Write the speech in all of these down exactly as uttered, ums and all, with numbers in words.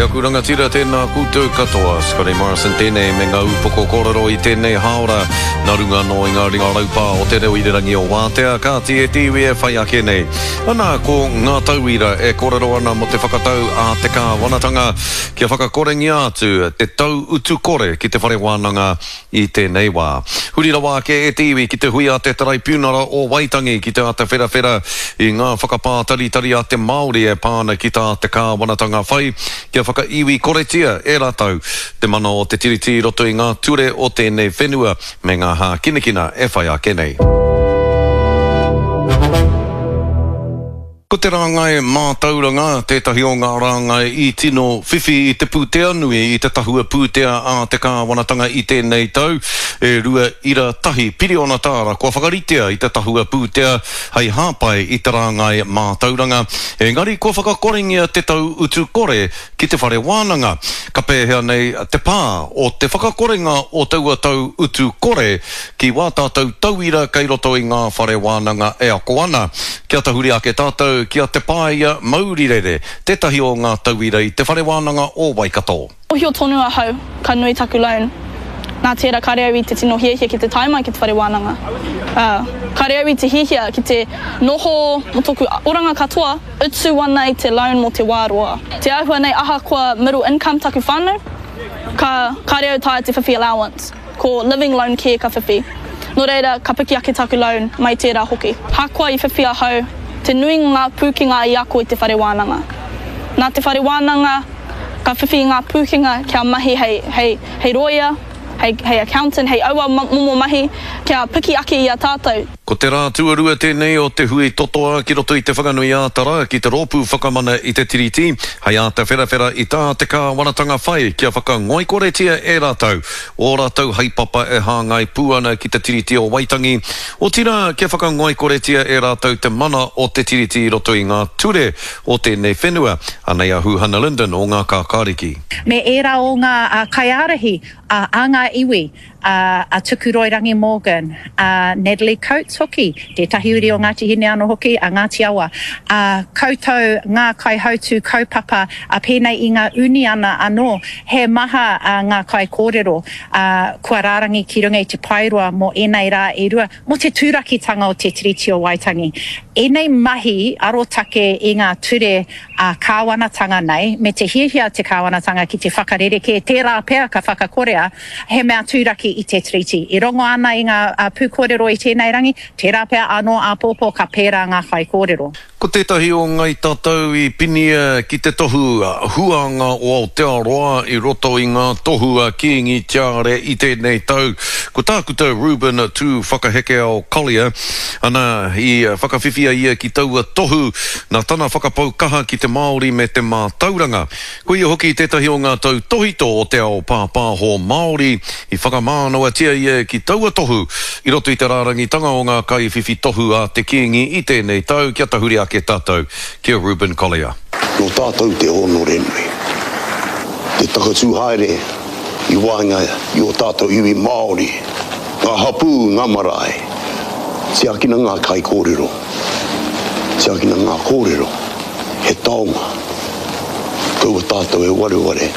aku rangatira, tēnā koutou katoa. Scotty Morrison tēnei me ngā upoko kōrero i tēnei hāora. Nā runga anō i ngā ringa raupā o te reo irirangi o Wātea, kāti e te iwi e whai ake nei. Ana, ko ngā tauira e kōrero ana mō te whakatau a te kāwanatanga kia whakakorengia atu te tau utu kore ki te whare wānanga i tēnei wā. Huri rawa ake e te iwi ki te hui a te Taraipiunara o Waitangi ki te āta wherawhera i ngā whakapātaritari a te Māori e pā ana ki tā te kāwanatanga whai kia whakaiwi koretia e rātou te mana o te Tiriti i roto i ngā ture o tēnei whenua me ngā hākinakina e whai ake nei. Ko te rāngai mātauranga tētahi o ngā rāngai i tino whiwhi i te pūtea nui i te tahua pūtea a te kāwanatanga i tēnei tau, e rua ira tahi piriona tāra kua whakaritea i te tahua pūtea hei hāpai i te rāngai mātauranga, engari kua whakakorengia te tau utu kore ki te whare wānanga. Ka pēhea nei te pā o te whakakorenga o taua tau utu kore ki wā tātou tauira kei roto i ngā whare wānanga e ako ana. Kia tahuri ake tātou ki a Te Paia Maurirere, tētahi o ngā tauira i te whare wānanga o Waikato. Mōhio tonu ahau ka nui taku loan, nā tērā kāre au i te tino hiahia ki te tae mai ki te whare wānanga. Ā, kāre au i te hiahia ki te noho mō tōku oranga katoa, utu ana i te loan mō te wā roa. Te āhua nei ahakoa middle income taku whānau, ka, kāre au taea te whiwhi allowance. Ko living loan kē ka whiwhi. Nō reira, ka piki ake taku loan mai tērā hoki. Hakoa i whiwhi ahau, te nuinga ngā pūkenga i ako i te whare wānanga. Nā te whare wānanga, ka whiwhi i ngā pūkenga kia mahi hei, hei, hei rōia, hei, hei accountant, hei aua momo mahi, kia piki ake i a tātou. Ko te rā tuarua tēnei o te hui totoa ki roto i Te Whanganui-ā-Tara ki te Rōpū Whakamana i te Tiriti, hei āta wherawhera i tā te kāwanatanga whai kia whakangoikoretia e rātou ō rātou haepapa e hāngai pū ana ki te Tiriti o Waitangi, otirā kia whakangoikoretia e rātou te mana o te Tiriti i roto i ngā ture o tēnei whenua. Anei a Huhana Lyndon o Ngā Kākāriki. Me ērā o ngā kaiārahi a ngā iwi, a Tukuroirangi Morgan, a Natalie Coates hoki, tētahi uri o Ngāti Hine anō hoki, a Ngāti Awa, a koutou ngā kaihautū kaupapa, a pēnei i ngā uniana anō, he maha ngā kaikōrero kua rārangi ki runga i te paeroa mō ēnei rā e rua, mō te turakitanga o te Tiriti o Waitangi. Ēnei mahi arotake i ngā ture ā-kāwanatanga nei, me te hiahia a te kāwanatanga ki te whakarerekē, tērā pea ka whakakorea, he mea tūraki i te Tiriti. I rongo ana i ngā pūkōrero i tēnei rangi, tērā pea anō āpōpō ka pērā ngā whaikōrero. Ko tētahi o Ngai Tatau i pinia ki te tohu huanga o Aotearoa i roto i ngā tohu a Kīngi Tiare i tēnei tau, ko Tākuta Reuben Tūwhakahekeao Collier, ana, i whakawhiwhia ia ki taua tohu nā tana whakapau kaha ki te Māori me te mātauranga. Ko ia hoki tētahi o ngā tautōhito o te ao pāpāho Māori, i whakamānawatia ia ki taua tohu i roto i te rārangitanga o ngā kaiwhiwhi tohu a te Kīngi i tēnei tau kia tahuri ake tātou ki a Reuben Collier. Nō tātou te hōnore nui, te takatū haere i waenga i ō tātou iwi Māori, ngā hapū, ngā marae. Tiakina ngā kaikōrero, tiakina ngā kōrero, he taonga. Kaua tātou e wareware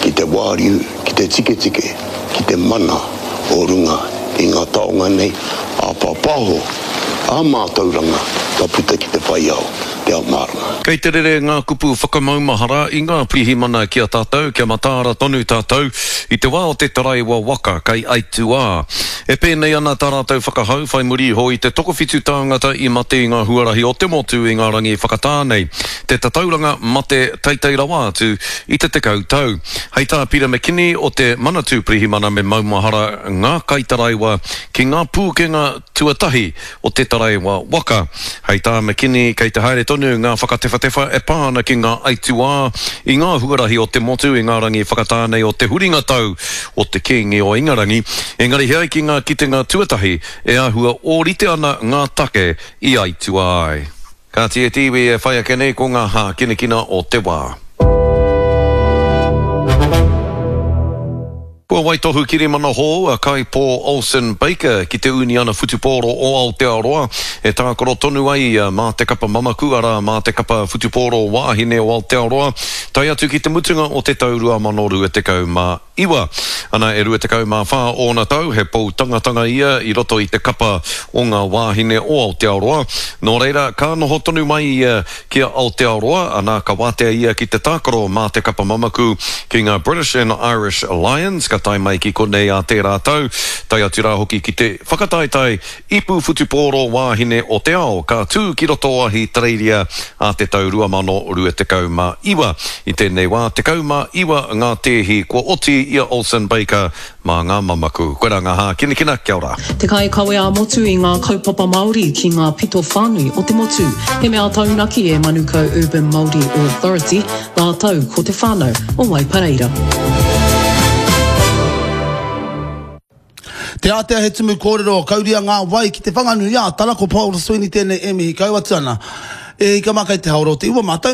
ki te wāriu, ki te tiketike, ki te mana o runga i ngā taonga nei, ā-pāpāho, ā-mātauranga ka puta ki te whai ao, te ao mārama. Kei te rere ngā kupu whakamaumahara i ngā pirihimana ki a tātou, kia mataara tonu tātou i te wā o te taraiwa waka kei aituā. E pēnei ana tā rātou whakahau whai muri iho i te tokowhitu tāngata i mate i ngā huarahi o te motu i ngā rangi whakatā nei, te tatauranga mate teitei rawa atu i te tekau tau. Hei tā Peter McKinney o te Manatū Pirihimana me maumahara ngā kaitaraiwa ki ngā pūkenga tuatahi o te taraiwa waka. Hei tā McKinney kei te haere tonu ngā whakatewhatewha e pā ana ki ngā aituā i ngā huarahi o te motu i ngā rangi whakatā nei o te huringa tau o te Kīngi o Ingarangi, engari he ai ki ngā kitenga tuatahi e āhua ōrite ana ngā take i aituā ai. Kāti e te iwi e whai ake nei ko ngā hākinakina o te wā. Kua waitohu kirimana hou a Kaipo Olsen-Baker ki te Uniana Whutupōro o Aotearoa e tākaro tonu ai ia mā te kapa mamaku, arā, mā te kapa whutupōro wāhine o Aotearoa, tae atu ki te mutunga o te tau rua mano rua tekau mā iwa. Ana, e rua tekau mā whā ōna tau, he pou tangatanga ia i roto i te kapa o ngā wāhine o Aotearoa. Nō reira, ka noho tonu mai ia ki a Aotearoa, ana, ka wātea ia ki te tākaro mā te kapa mamaku ki ngā British and Irish Lions, ka tae mai ki konei ā tērā tau, tae atu rā hoki ki te whakataetae Ipu Whutupōro Wāhine o te Ao, ka tū ki roto o Ahitereiria ā te tau rua mano rua tekau mā iwa. I tēnei wā, tekau mā iwa ngā tēhi kua oti i a Olsen Baker mā ngā mamaku. Koirā ngā hākinakina, kia ora. Te kaikawe ā-motu i ngā kaupapa Māori ki ngā pito whānui o te motu. He mea taunaki e Manukau Urban Māori Authority rātou ko te whānau o Waipareira. Te Ātea He tumu kōrero, Kauria ngā wai ki Te Whanganui ā Tara, ko Paul Sweeney tēnei e mihi kau atu ana. E hika mā kei te haora o te iwa mātou.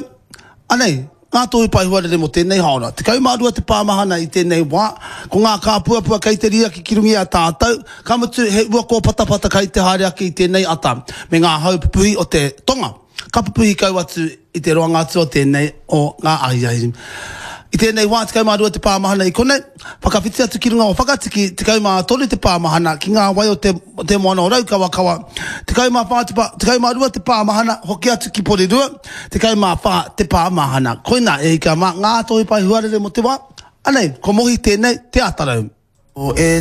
Anei, ngā tohu pae huarere mō tēnei haora. Tekau mā rua te pāmahana i tēnei wā, ko ngā kāpuapua kei te riaki ki runga i a tātou, ka mutu he ua kōpatapata kei te haere ake i tēnei ata, me ngā hau pupuhi o te tonga. Ka pupuhi kau atu i te roanga atu o tēnei o ngā ahiahi. I tēnei wā, tekau mā rua te pāmahana i konei, whakawhiti atu ki runga o Whakatiki, tekau mā toru te pāmahana ki ngā wai o te, te moana o Raukawakawa, tekau mā whā te pā, tekau mā rua te pāmahana, hoki atu ki Porirua, tekau mā whā te pāmahana. Koinā, e hika mā, ngā tohu pae huarere mō te wā, anei, ko Mohi tēnei, Te Atarau. O e